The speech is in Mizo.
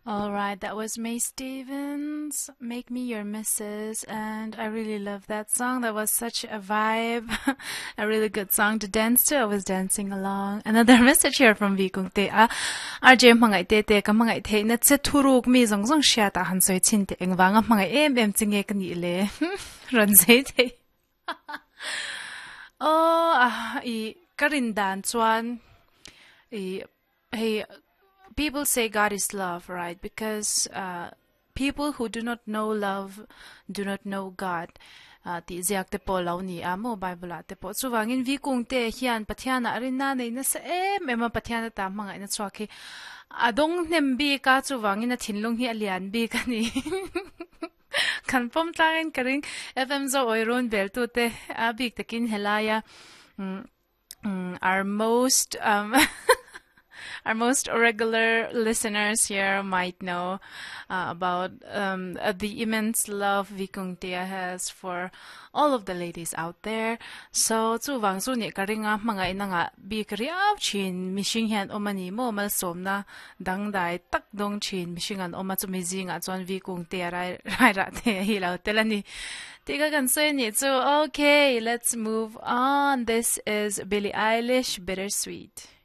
All right, that was Mae Stevens, Make Me Your Missus, and I really love that song. That was such a vibe, a really good song to dance to. I was dancing along. Another message here from Vikung Te a RJ mangai te te ka mangai the na che thuruk mi zong zong sha ta han soi chin te engwanga mangai em em chinge ka ni le ron sei te. Oh, ah, i karin dan chuan i hey people say God is love, right? Because uh, people who do not know love do not know God. Uh, ti ziak te pawh lo ni a mo Bible ah te pawh chuwangin vi kung te hian Pathian a rin na nei na sa em em a Pathian ta hmangai na chuak hi adong hnem bi ka chuwangin a thinlung hi a lian bi ka ni kan pom tlangin ka ring FM zo oi run bel tu te a bik takin helaya mm, our most um, our most regular listeners here might know uh, about um, uh, the immense love Vikungtia has for all of the ladies out there. So chu wang chu ni karinga mangai na nga bik riau chin mishing hian omani mo mal somna dang dai tak dong chin mishing an oma chu mi zinga chuan Vikungtia rai rai ra te hi lo telani Tiga kan soi ni chu okay let's move on. This is Billie Eilish Bittersweet.